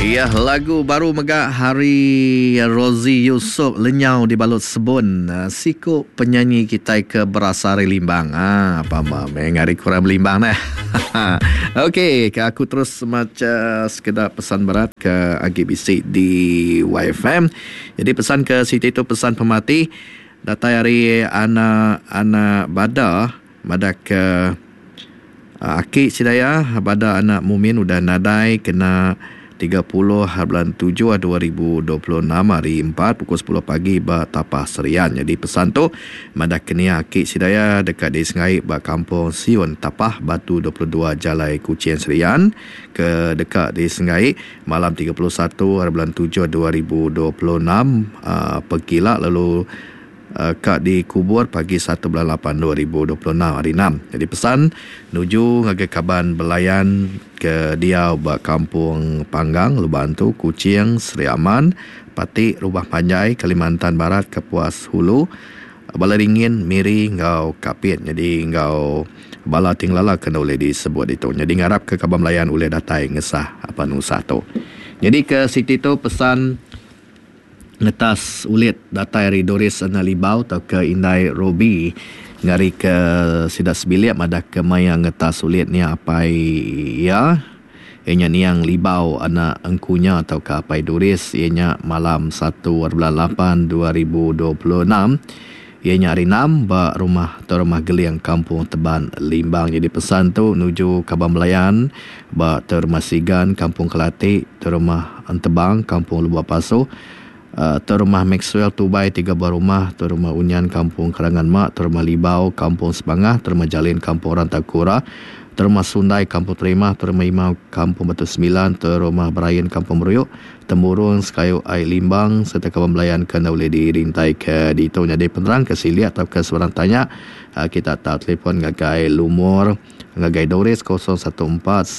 Iya lagu baru mega hari Rozi Yusup lenyau dibalut sebun siku penyanyi kitai ke berasal ari Limbang. Ah pama meh ngari kurang belimbang neh. Okey ke aku terus macha sekeda pesan berat ke agi bisi di YFM. Jadi pesan ke siti tu pesan pemati datai ari anak anak Bada madah ke Aki sida iya bada anak Mumin udah nadai kena 30 bulan tujuh 2026 hari empat pukul sepuluh pagi ba Tapah Serian. Nyadi pesan tu madah ke nia aki sida iya deka disengai ba Kampung Siun Tapah Batu 22 Jalai Kuching Serian ke deka disengai malam 31 hari bulan tujuh 2026 pegila lalu Ka dikubur pagi satu bulan lapan 2026 hari enam. Nyadi pesan nuju ngagai kaban belayan ke diau ba Kampung Panggang, Lubok Antu, Kuching, Sri Aman, Pati, Rubah Panjai, Kalimantan Barat, Kapuas Hulu, Balai Ringin, Miri enggau Kapit. Nyadi enggau bala ti ngelala ke enda ulih disebut ditu. Nyadi ngarapka kaban belayan ulih datai ngesah penusah tu. Nyadi ke siti tu pesan. Ngetas ulit datai ari Doris Ena Libau tauka indai Robbie ngarika sida sebilik madahka maya ngetas ulit nya apai iya iya nya niang Libau anak Engkunya tauka apai Doris iya nya malam satu bulan lapan 2026. Iya nya hari enam ba rumah Tuai Rumah Geling Kampung Teban Limbang. Nyadi pesan tu nuju kaban belayan ba Tuai Rumah Sigan Kampung Kelati, Tuai Rumah Entebang Kampung Lubok Pasu, Tuai Rumah Maxwell Tubai tiga buah rumah, Tuai Rumah Unyan Kampung Kerangan Mak, Tuai Rumah Libau Kampung Sebangah, Tuai Rumah Jalin Kampung Rantau Kura, Tuai Rumah Sundai Kampung Terimah, Tuai Rumah Imau Kampung Batu Semilan, Tuai Rumah Berain Kampung Meruyuk, Temurung sekayu ai Limbang sereta kaban belayan ke enda ulih dirintaika ditu nyadi penerang ke silik tauka sebarang tanya kita tau telefon ngagai lumur ngagai Doris 0149215489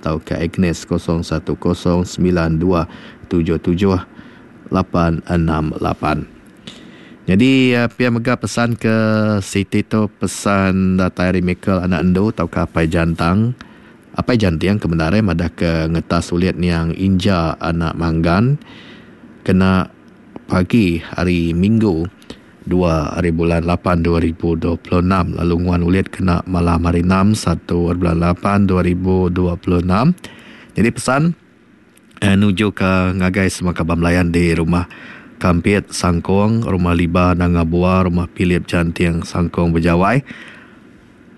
tauka Agnes 0109277868. Nyadi pia mega pesan ke siti tu pesan datai ari Michael anak Endu tauka Apai Jantang. Apai Janting ke bendar eh madah ke ngetas ulit niang Inja anak Manggan kena pagi hari Minggu dua hari bulan lapan 2026 lalu nguan ulit kena malam hari enam satu hari bulan lapan 2026. Jadi pesan eh, nuju ke ngagai semua kaban belayan di rumah Kampit Sangkong, Rumah Liba Nanga Bua, Rumah Philip Janting Sangkong Bejawai.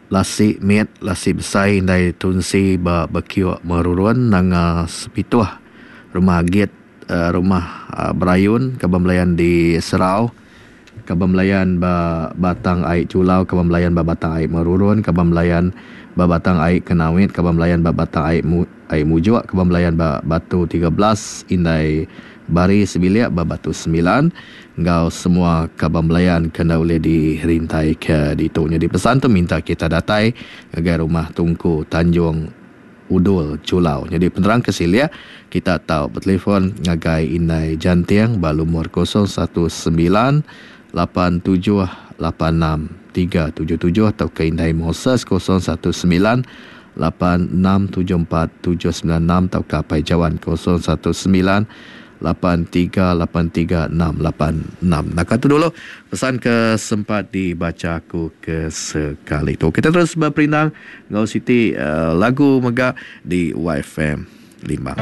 Lasi mit, lasi besai indai tunsi ba Bekiok Merurun Nanga Sepituh, Rumah Agit, Rumah Berayun, Kaban Belayan di Serau, Kaban Belayan ba Batang Ai Chulau, Kaban Belayan ba Batang Ai Merurun, Kaban Belayan ba Batang Ai Kenawit, Kaban Belayan ba Batang Ai Ai Mujuk, Kaban Belayan ba Batu 13, Indai Bari sebilik ba Batu Semilan enggau semua kaban belayan ke enda ulih dirintaika ditu. Nyadi pesan tu minta kita datai ngagai rumah Tungku Tanjung Udul Julau. Nyadi penerang ke silik kita tau betelefon ngagai Indai Janting ba lumur 019 87 86 377 tauka Indai Moses 019 8674 796 tauka Apai Jawan 019 8383 686. Naka tu dulu pesan ke sempat dibacha aku ke sekali tu. Kita terus beperindang enggau siti lagu mega di YFM Limbang.